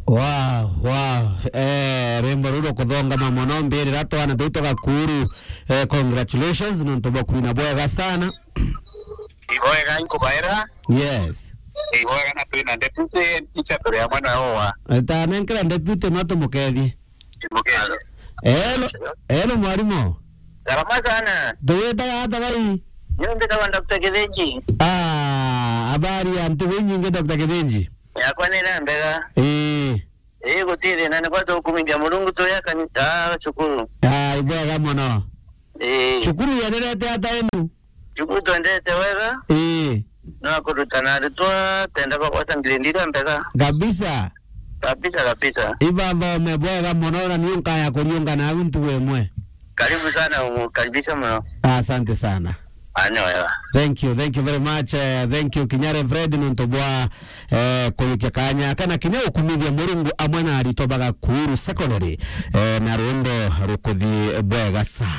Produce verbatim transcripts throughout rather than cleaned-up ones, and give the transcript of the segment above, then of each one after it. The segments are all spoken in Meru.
Wow, wow. Eh, rwimbo ruru rukuthongama mono, mbirira twana tuu twa Gakuru. Eh, congratulations, nontu bwa kwina bwega sana. Ibwega nkubaira. Yes. Ibwega na twina deputy teacher turi amwe na owa. Tanenkera deputy no tumukethie. Tumukethie. Hello, hello mwarimu. Salama sana. Tuwitaga ata gai? Niyo mbitawa Doctor Kithinji. Ah, habari ya ntuku inyingi Doctor Kithinji? Yakwa ni na mbega. Ii. Ii, guti thina, ni kwa tukumithia Murungu tuya kanitha cukuru. Ah, ibwega mono. Ii. Cukuru yenderete ata enu? Cukuru twendete wega. Ii. No kurutana aritwa tenda bagwata grade iria mbega. Kabisa. Kabisa, kabisa. Ibathome bwega mono, na ni nkaya kuriungana au ntuku imwe. Karibu sana, umukaribisha muno. Asante sana. Ane wega. Thank you, thank you very much. Eh, thank you, kinya Reverend, nontu bwa, eh, kuyukia kanya kana kinya gukumithia Murungu amwe na aritwa ba Gakuru Secondary, eh, na rwimbo rukuthi bwega sana.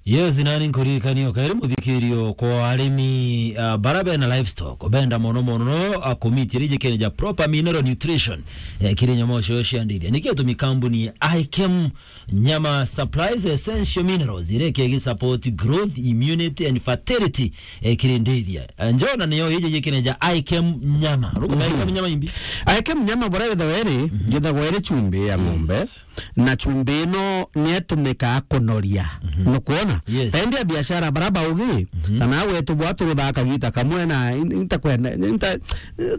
Yes, nani nkuririkania o kairi muthikirio kwa arimi, ah, bara bena livestock, benda mono mono, ah, kumitia rijikene ja proper mineral nutrition, eh, kiri nyamu cio cia ndithia. Nikio tumi kambuni ya Ikem Nyama Supplies Essential Minerals, iria ikegi support growth, immunity and fertility, eh, kiri ndithia. Eh, njona niyo iji jikene ja Ikem Nyama. Rukume Ikem Nyama imbi? Ikem Nyama bora wetha weri, yetha weri chumbi ya ng'ombe. Yes. Na chumbi ino nietumikaa kunoria. Nukwona? Yes. Taindi ya biashara bara baugi, kana wetu bwa turuthaa kagita kamwe na in-, intakwenda, inta-,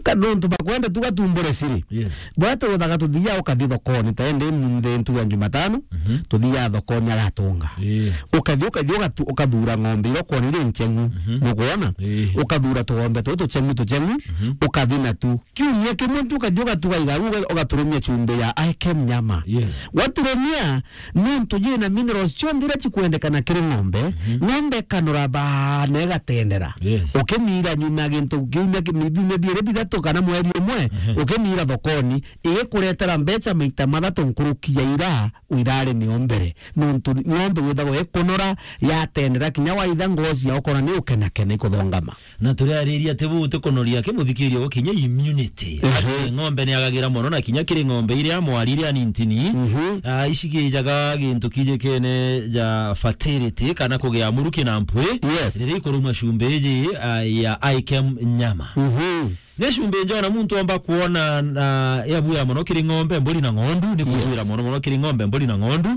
ka-, nontu bakwenda tu gatumbure siri. Yes. Bwa turuthaga tuthia ukathi thokoni, taindi munthi ntu ya Jumatano, tuthia thokoni agatunga. Ii. Ukathi, ukathi ugatu-, ukathura ng'ombe iria ukwona iri ncheng'u. Nukwona? Ii. Ukathura tugombe tutu tucheng'u, tucheng'u, ukathi natu. Kiumia kimwe tu ukathi ugatuga igagu, uga-, ugaturumia chumbi ya Ikem Nyama. Yes. Waturumia, nontu jina minerals chionthe iria chikwendekana kiri ng'ombe, ng'ombe ikanora baa na igatendera. Yes. Ukimiira nyuma ya gintu kiumia ki-, biumia biiri bithatu kana mweri umwe, ukimiira thokoni, igikuretera mbecha maita mathatu nkuruki ya ira wirari nio mbere. Nontu ng'ombe withagwa ikunora, yatendera, kinya waitha ngozi ya ukona ni ukenakena ikuthongama. Na turiariria ati buu ti kunoria ki muthikiria gwa kinya immunity. Ehe. Ati ng'ombe ni agagira mono, na kinya kiri ng'ombe iria mwari iria nintini, ah, icikijaga gintu kijikene ja fertility kana kugia muruki na mpwi. Yes. Riria ikuruma cumbi iji, ah, ya Ikem Nyama. Ni cumbi njona muntu omba kwona na yabuya mono kiri ng'ombe, mburi na ng'ondu, ni kubuira mono mono kiri ng'ombe, mburi na ng'ondu.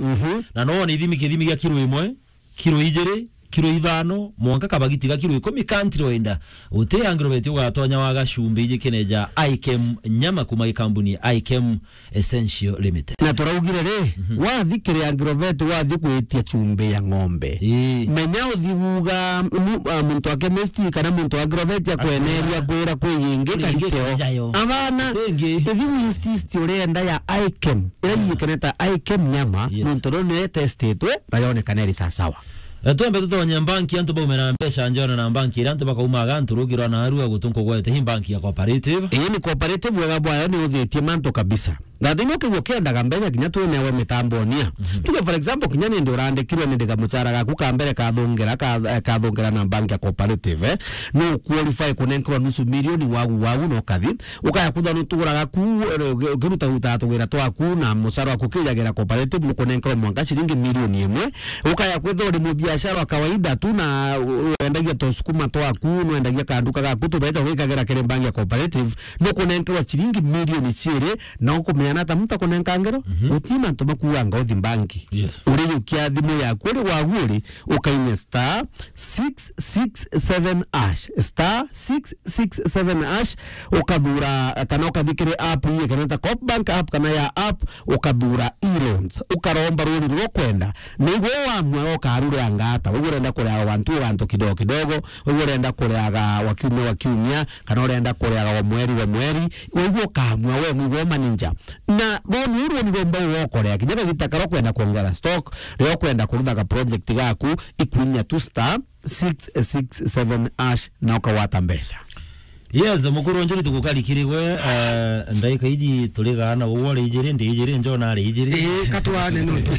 Na no wone ithimi, kithimi gia kiro imwe, kiro ijiri, kiro ithano, mwanka kabagiti ga kiro ikumi, country wenda. Uti angirobeti ugatonya waga cumbi iji kene ja Ikem Nyama kuma i kambuni ya Ikem Essential Limited. Na turaugire ri, wathi kiri angirobeti, wathi kwitia cumbi ya ng'ombe. Ii. Menya uthi guga mu-, a, muntu wa chemist kana muntu wa angirobeti akweneria kwira kwi ingi kariteo. Abana, ithi u insist urenda ya Ikem, ira yikeneta Ikem Nyama, nontu rio ni testitwe, na yonekana iri sasawa. Eh, twambe tutonye mbanki, antu baumira mbeca njona na mbanki iria antu bakaumaga antu rugirwa na arua gutu nkugwete hi mbanki ya Cooperative. Ii ni Cooperative, wega bwayo ni uthitie mantu kabisa. That ni ukigua ukiendaga mbeca kinya twi nawe mitambonia. Tuge for example, kinya nindi urandikirwe ni ndiga mucara gaku ka mbere kathungira, ka-, eh, kathungira na mbanki ya Cooperative, eh. No qualify kunenkerwa nusu milioni wagu, wagu no kathi. Ukaya kwithwa nutuguraga ku, eh, uki-, ukiruta ruta tuwira twaku na mucara waku ukijagira Cooperative, nukunenkerwa mwanka ciringi milioni imwe. Ukaya kwithwa uri mubiashara wa kawaida tu na u-, wendagia tusukuma twaku, nwendagia kanduka gaku, tubeca ugikagira kiri mbangi ya Cooperative, nukunenkerwa ciringi milioni ciiri, na ukumeana ata muntu akunenka ngero? Guti mantu makuanga uthi mbangi. Yes. Urijukia thimu yaku uri wagu uri, ukainya star six six seven hash, star six six seven hash, ukathura, kana ukathi kiri app ii, kana ta Coop Bank app, kana ya app, ukathura e-loans, ukaromba runi ruria ukwenda. Na igwe wamua ukarureanga ata, wigwe urenda kureaga wa ntu wa ntu kidogo kidogo, wigwe urenda kureaga wa kiumia wa kiumia, kana urenda kureaga wa mweri wa mweri, wigwe ukamua we, wigwe manager. Na runi uru ni rumba ugokorea, kinya kagita karia ukwenda kuongera stock, riria ukwenda kuruthaga project gaku, ikwinya tu star six six seven hash na ukagwata mbeca. Yes, mukuru njuri tugukarikirigwe, eh, ndaika iji turi gaana, uwe ari ijiri, ndi ijiri, Njona ari ijiri. Eh, katwane nontu.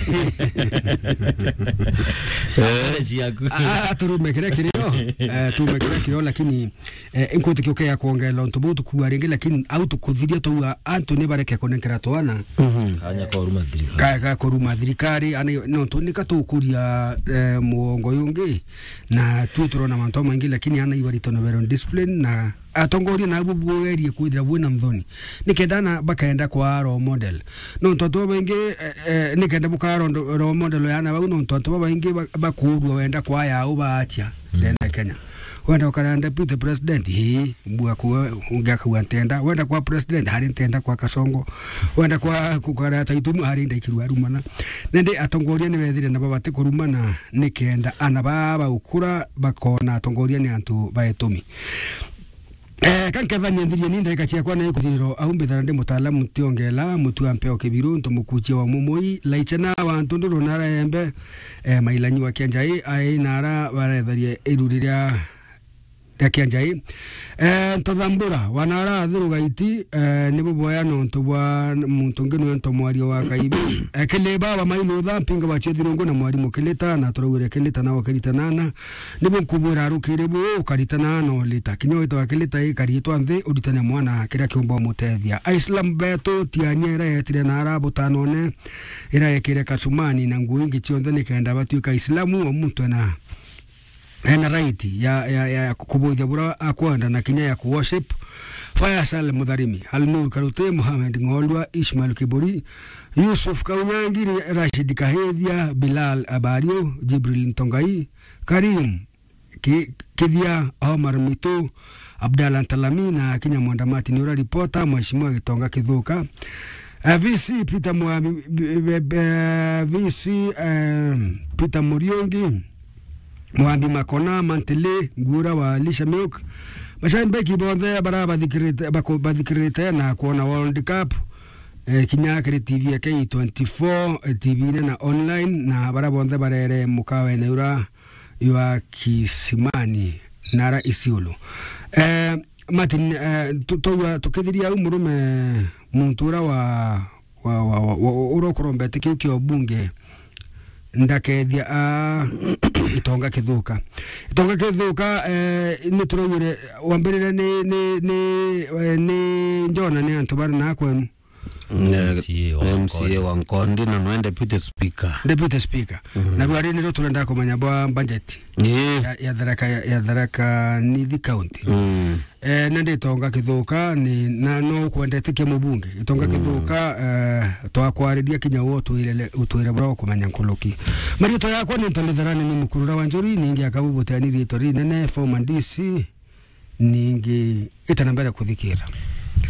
Eh, ciaku. Ah, ah, turume kiria kirio, eh, turume kiria kirio, lakini, eh, inkwitikia ukea kwongerera untu buu tukua ringi, lakini au tukuthiria twauga antu ni bareke kunenkera twana. Mhm. Kanya ka uruma thirikari. Ka, ka kuruma thirikari, ani, nontu nika tukuria, eh, muongo yungi, na twi turona mantu maingi, lakini ana ibarito na very discipline, na atongoria nabo bwerie kwithira bwina nthoni, nikenda ana bakaenda kwa role model. Nontu antu babaingi, eh, eh, nikenda bukaa role, role model ya ana bau, nontu antu babaingi ba-, bakuurua wenda kwa yao baatia ndene Kenya. Wenda ukara deputy president, ii, mbua kuwe, ungi akauga ntenda. Wenda kwa president, hari ntenda kwa Kasongo. Wenda kwa kukara Taitumu, hari ndaikirua arumana. Nende atongoria ni bethire nabo bati kurumana nikenda ana baa baukura bakona atongoria ni antu baetumi. Eh, kankethania nthirie ni ndaika ciakwa na ikuthiriro au mbithana ndi mutaalamu ntiongela mutu wa mpeo kibiru ntu mukuchia wa mumui laichena wa ntu nduru nara embe, eh, mailanyi wa kianjai ai nara baretharia iru riria ria kianjai. Eh, ntothambura wanara athiru gaiti, eh, nibo boya nontu bwa muntu ungi nwe nto mwario wa kaibi. Eh, kile baba mailutha mpinga wa chethirungu na mwarimu kilita na turaugire kilita na okirita nana. Nibu nkubwira arukiri bu ukaritana no lita. Kinya witwa kilita ikaritwa nthi uritane mwana kiria kiumba umutethia. Aislam betu tiania ira yetire na ara butanone ira yekire kacumani na nguo ingi cionthe nikenda batuika Aislamu o muntu ena, ena right ya, ya, ya kubuithia bura akwenda na kinya ya ku worship. Faisal Mutharimi, Alnur Karute, Mohamed Ng'olwa, Ishmael Kiburi, Yusuf Kaunyangi, Rashid Kahithia, Bilal Abario, Jibril Ntongai, Karim Ki-, Kithia, Omar Mitu, Abdallah Ntalami na kinya Mwenda Martin ura ripota, Mheshimiwa Gitonga Kithuka. Eh, V C Peter Mwa-, B-, B-, B-, V C, eh, Peter Muriungi, Mwambi Makona, Mantele, Ngura wa Lisha Milk. Mashabiki bonthe bara bathikirite, bako-, bathikirite na kuona World Cup. Eh, kinya kiri T V ya K twenty-four, eh, T V ine na online, na bara bonthe barere mukawene ura ywa Kisimani, nara Isiolo. Eh, Martin, eh, tu-, twaua tukithiria au murume muntu ura wa, wa, wa, wa, wa, ura ukurombete kiu kia ubunge ndakethia a Itonga Kithuka. Itonga Kithuka, eh, ni turaugire wambirire ni, ni, ni, eh, ni Njona ni antu bari na kwenu. Eh, M C A wa M C A Nkondi. Wa Nkondi na nwe deputy speaker. Deputy speaker. Mhm. Na bwari niro turenda kumenya bwa budget. Ii. Ya, ya Tharaka, ya, ya Tharaka Nithi County. Mm. Eh, na ndi Itonga Kithuka, ni, na no ukwendete kia mubunge. Itonga Mm. Kithuka, eh, twakwariria kinya wo utwire, utwire bura ukumenya nkuruki. Mariitwa yakwa ni Ntoni Tharani ni mukurura wa Njuri, ningi akabu buteni riitwa rinene, former D C, ningi ita na mbere kuthikira.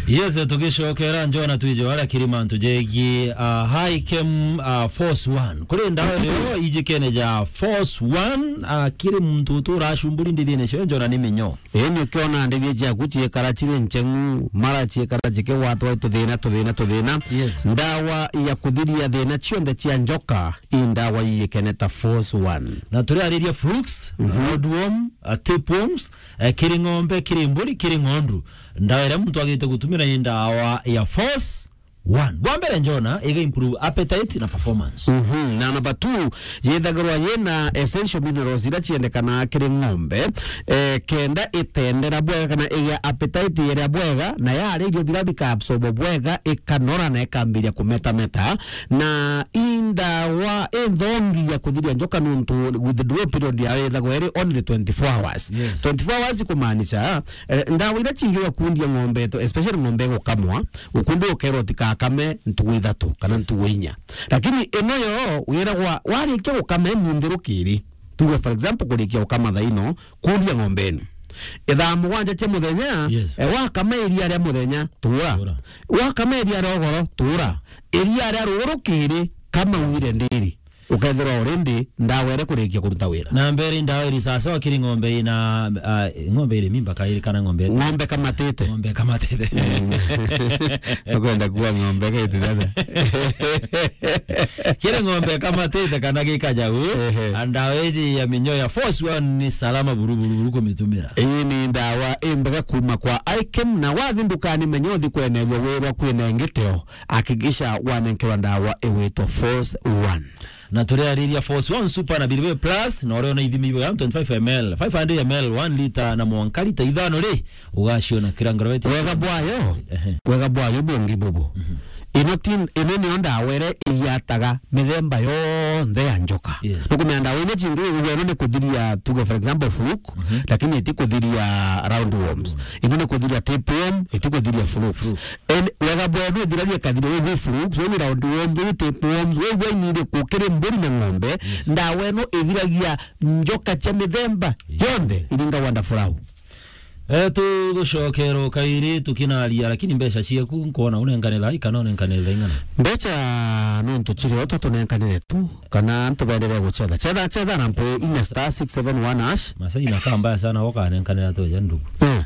Yes, tugicokera Njona twije wara kiri mantu jegie, uh, High Chem, uh, Force One. Kuri ndawa yo ijikene ja Force One, uh, kiri muntu utura acumburi ndithine cio Njona ni minyo. Ii, ni ukiona ndithie ciaku ciikara ciri ncheng'u, mara ciikara cikigwatwa tuthina, tuthina, tuthina. Yes. Ndawa ya kuthiria thina cionthe cia njoka, i ndawa iyikene ta Force One. Na turiariria flukes, Mhm. roundworm, uh, tapeworms, eh, kiri ng'ombe, kiri mburi, kiri ng'ondu. Ndawa iria muntu agite gutumira ni ndawa ya Force One. Bwa mbere, Njona, iga improve appetite na performance. Mhm. Na number two, yithagirwa yina essential minerals iria ciendekanaga kiri ng'ombe, eh, kenda itendera bwega kana igia appetite iria bwega, na yaria irio biria bika absorb bwega, ikanora na ikambiria kumetameta. Na i ndawa inthongi ya kuthiria njoka nuntu withdrawal period yayo ithagwa iri only twenty-four hours. Yes. Twenty-four hours kumaanisha, eh, ndawa iria cingi ugakundia ng'ombe yetu, especially ng'ombe igukamwa, ukundi ukerwa utikakame ntuku ithatu kana ntuku inya. Lakini ino yo wiragwa warikia gukama imunthi rukiri, tuge for example kurikia gukama thaa ino, kundia ng'ombe ino. Ithaa mugwanja cia muthenya, Yes. eh, wakama iria ria muthenya, tura. Tura. Wakama iria ria ugoro, tura. Iria ria ruu rukiri, kama wire ndiri. Ukethirwa already ndawa iria kurikia kuruta wira. Na mbere ndawa iri sawa sawa kiri ng'ombe ina, ah, ng'ombe iri mimba kairi kana ng'ombe? Ng'ombe kamatite. Ng'ombe kamatite. Ukwenda kuwa ng'ombe gaitu sasa. Kiri ng'ombe kamatite kana gikajau. Ehe. Ndawa iji ya minyoo ya Force One ni salama buru buru buru kumitumira. Ii ni ndawa imbega kuma kwa Ikem, na wathi ndukani menya uthi kwenerua wirwa kwina ingiteo. Hakikisha wanenkerwa ndawa igwitwa Force One. Na turiariria Force One Super na Bilibili Plus, na uria una ithimi ibo ya twenty-five M L, five hundred M L, one litre na mwanka litre ithano ri, ugaciona kira ngoroweti. Wega bwayo, ehe, wega bwayo bungi bubu. Mhm. Ino ti, ino niyo ndawa iria iyataga mithemba yonthe ya njoka. Yes. Nukumenya ndawa iria cingi wigua ino ni kuthiria, tuge for example, fluke, mhm, lakini iti kuthiria round worms. Ino ni kuthiria tapeworm, iti kuthiria flukes. Flukes. En, wega bwayo ithiragia kathira wi flukes, wi round worms, wi tapeworms, wi gwa ini iriku kiri mburi na ng'ombe, yes, ndawa ino ithiragia njoka cia mithemba yonthe iringa wonderful. Eh, tugucokera o kairi tukinaria, lakini mbeca ciaku nkwona unenkane thaa ii kana unenkane thaa ing'ana? Mbeca nontu ciri o ta tunenkanire tu, kana antu baendelee gucetha. Cetha, cetha na mpwi inya star six seven one hash. Masaa ina kaa mbaya sana, ukanenkanira tweja ndugu. Eh.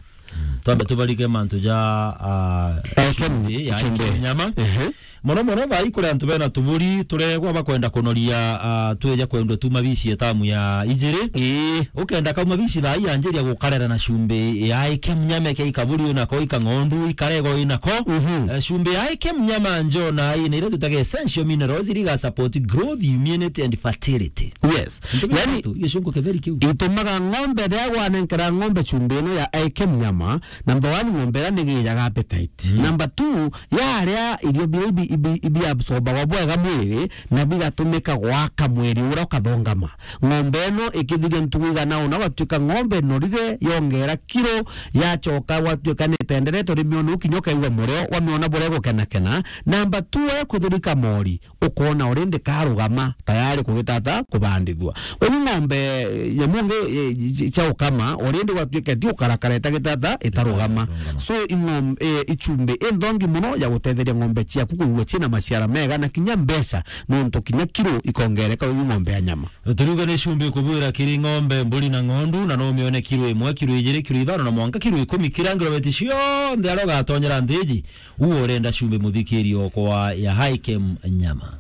Twambe tubarike mantu ja, ah, Ikem, chumbi, ya chumbi. Ikem nyama. Ehe. Mono mono thaa ii kuri antu bena tuburi turegwa bakwenda kunoria, ah, tweja kwendwa tu mabici etamu ya ijiri. Ii. Ukenda kauma bici thaa ii anjiria gukarera na chumbi ya Ikem nyama, ke ikaburi unako, ikang'ondu, ikarego inako. Mhm. Eh, chumbi ya Ikem nyama njo na ina iria twitaga essential minerals iria iga support growth, immunity and fertility. Yes. Ntumira yani, tu, gicungu kitheri kiu. Itumaga ng'ombe riria gwanenkera ng'ombe chumbi ino ya Ikem nyama, number one, ng'ombe iria nigijaga appetite. Mm. Number two, yaria irio biria ibi, ibi, ibi absorbagwa bwega mwiri, na bigatumika gwaka mwiri uria ukathongama. Ng'ombe ino ikithiria ntugu igana una, gwatuika ng'ombe norire, yongera kiro, yachoka gwatuika ni itenderetwe, rimiona ukinya ukaigua murio, wamiona buria igukenakena. Number two, we kuthurika mori, ukona already karugama tayari kugitata kubandithua. Kwou ng'ombe, eh, nyamu ingi, eh, cia ukama, already gwatuika ti ukarakara itagitata itarugama. Itarugama. So, ing'om-, eh, ichumbi inthongi muno ya gutetheria ng'ombe ciaku kuigua ciina maciara mega na kinya mbeca, nontu kinya kiro ikongereka wi ng'ombe ya nyama. Turiuga ni chumbi kubwira kiri ng'ombe, mburi na ng'ondu, na no umione kiro imwe, kiro ijiri, kiro ithano na mwanka kiro ikumi, kira ngirobeti cionthe aria ugatonyera nthiji, uwe urenda chumbi muthikiri okwa ya Ikem nyama.